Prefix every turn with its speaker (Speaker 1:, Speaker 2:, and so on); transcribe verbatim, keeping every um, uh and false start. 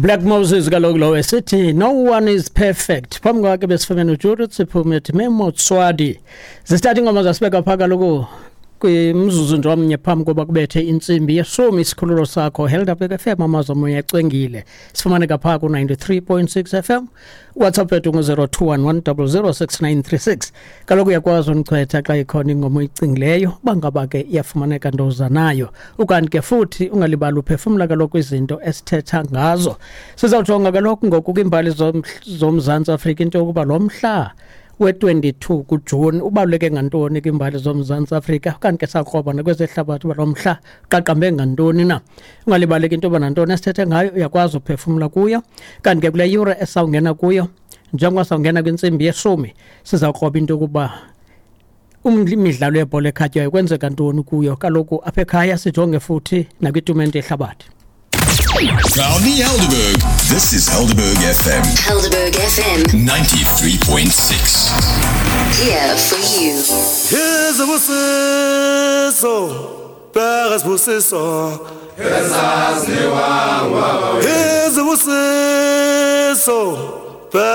Speaker 1: Black Moses kaloku lo esithi "No One Is Perfect". Phambi kwakhe besifumene uJudith siphume ethi "Memotswadi". Zisithatha ingoma zasibeka phaa kaloku kwimzuzu nje omnye phambi koba kubethe intsimbi yeshumi. Isikhululo sakho Helderberg F M, amazwi omoya ecwengile. Sifumaneka phaa ku-ninety-three point six F M. WhatsApp yethu ngu-zero two one one zero zero six nine three six. Kaloku uyakwazi undichwetha xa ikhona ingoma oyicingileyo, uba ngaba ke iyafumaneka ndoza nayo. Ukanti ke futhi ungalibali uphefumla kaloku izinto esithetha ngazo. Sizawujonga kaloku ngoku kwiimbali zom- zoMzantsi Afrika, into yokuba lo mhla we-twenty-two kuJuni ubaluleke ngantoni kwiimbali zoMzantsi Afrika, kanti ke sakroba nakwezehlabathi uba lo mhla qaqambe ngantoni na. Ungalibaleki into yoba nantoni esithethe ngayo uyakwazi uphefumla kuyo. Kanti ke kule yure esawungena kuyo, njengoba sawungena kwintsimbi yeshumi, sizawukroba into yokuba imidlalo yebhola ekhatywayo kwenzeka ntoni kuyo kaloku apha ekhaya, sijonge futhi nakwitumente yehlabathi.
Speaker 2: Proudly Helderberg. This is Helderberg F M.
Speaker 3: Helderberg F M
Speaker 2: ninety-three point six.
Speaker 3: Here for you.
Speaker 4: Izibusiso, bheka isibusiso. Izibusiso.